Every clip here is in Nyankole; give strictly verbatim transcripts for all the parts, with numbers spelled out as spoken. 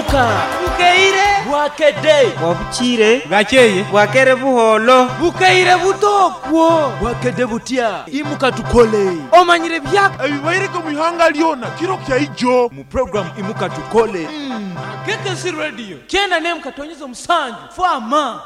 Imuka Bukeire Bwakedde Bwabukiire Bwakeye Bwakere buholo Bukeire butokwo Bwakedde butya Imuka tukole Omanyire byaka Ebibaireko mu ihanga lyona kiro kyaijo mu program Imuka Tukole. mm. K K C Radio kyenda nemu katonyeza omusanju fama.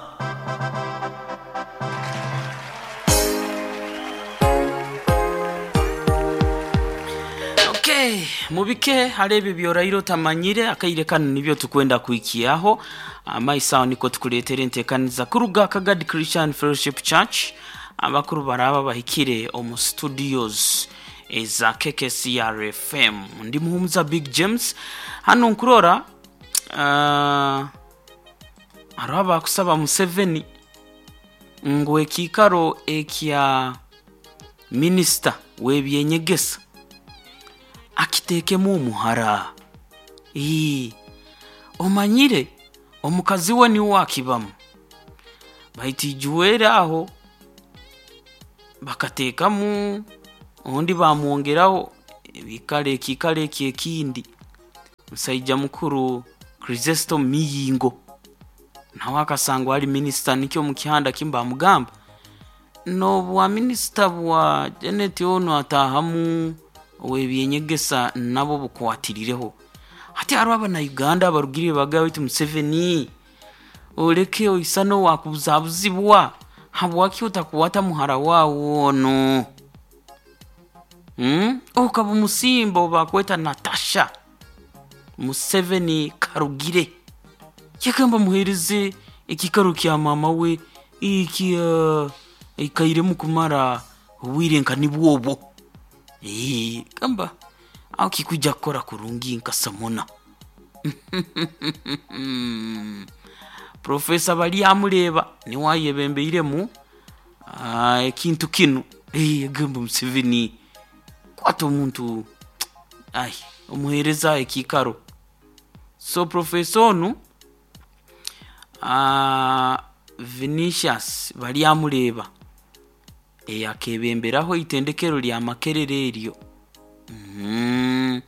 Okay, mubike hali ebyo byoraire otamanyire akaire kano nibyo tukwenda kuikiaho amaisaho niko tukuleetera enteekaniza kuruga Kagadi Christian Fellowship Church. Abakuru baraba bahikire omu studios eza K K C R F M. Ndi muhumuza Big James hano nkurora uh, hariho abakusaba Museveni ngu ekiikaro ekya minisita w'ebyenyegesa akitekemu omuhara. Ii, omanyire omukazi we niwe akibamu, baitu ijuwere aho bakateekamu ondi bamwongeraho ebikaro ekiikaro eki ekindi. Musaija mukuru Chrysestom Miyingo nawe akasangwa ari minisita, nikyo mukihanda kimu bamugamba nobwa minisita bwa Janet ono atahamu ow'ebyenyegesa nabo bukwatirireho. Hati hariho abana-Uganda abarugire bagamba baitu Museveni oleke oisano wakubuzabuzibwa, habwaki otakuwata muhara wawe ono hmm? Okaba omusimba obakweta Natasha Museveni Karugire, yagamba muhereze ekikaro kya mama we iki uh, ikairemu kumara obwire nka nibwobwo. Ee, gamba aho kikuja kukora kurungi nkasamona. Profesa bali amureba niwe ayebembeiremu uh, ekintu kinu. Ee, gamba Museveni kwata omuntu ai omuhereza ekikaro. So profesa onu uh, Vinicius bali amureba eyakebemberaho itendekero lya Makerere eryo. Mm.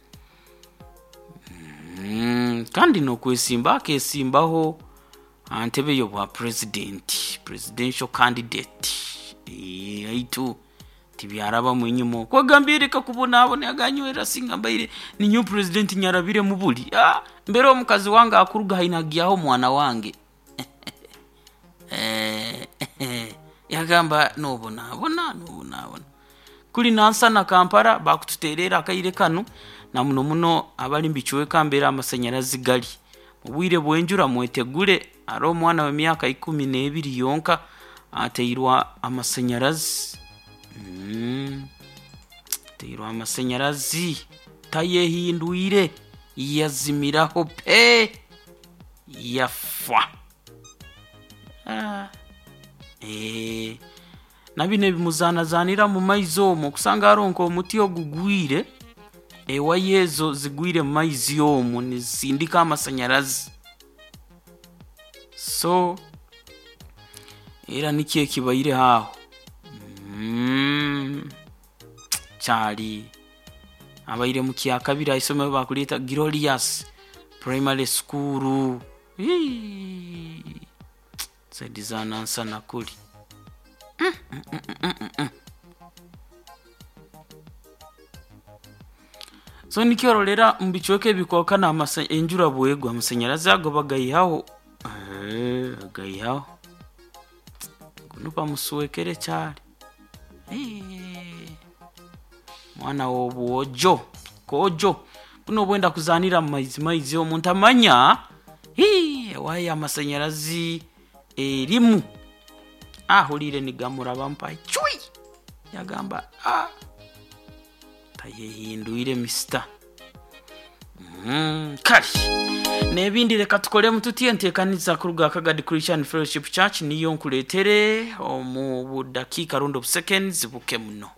Mm. Kandi nokwesimba akesimbaho antebe y'obwa president, presidential candidate. E, aitu tibyaraba mwinyumo kwagambire kakubonabona yaganywera singa mbaire ni new president nyarabire mubuli. Ah, mbere omukazi wange akuruga hainagiaho mwana wange. Eh, yagamba nobonabona nobonabona kuli Nansana Kampala bakututerera akaire kano na muno muno abali mbichweka mbera amasanyarazi gali mubwire bwenjura mwetegule. Ari omwana w'emyaka ikumi n'ebiri yonka ateirwa amasanyarazi. Mm. Ateirwa amasanyarazi tayehindwire yazimiraho pe yafa. Ah. Eh, na bino ebimuzanazanira mu maizi omwo kusanga aronka omuti ogugwire ewayo ezo zigwire mu maizi omwo nizisindika amasanyarazi. So era nikyo ekibaire aho. Mm. Kyali abaire mu kyakabiri aisomero bakuleeta Glorious Primary School. Saidi za Nansana kuli. Mm, mm, mm, mm, mm. So nikyorolera mubichweka ebikoka na enjura bwegwa amasanyarazi ago bagayihaho. Eh, agayihaho guno bamusuwekere kyali. Eh, mwana w'obwojo kojo buno obwenda kuzanira mu maizi maizi omuntu amanya ewayo amasanyarazi erimu ahulire nigamuraba mpa chui yagamba ah, tayehindwire mister. Mm, kali nebindi reka tukolemu tutye enteekaniza kuruga Kagadi Christian Fellowship Church niyo nkuletere omu budakiika rundi obuseconds buke muno.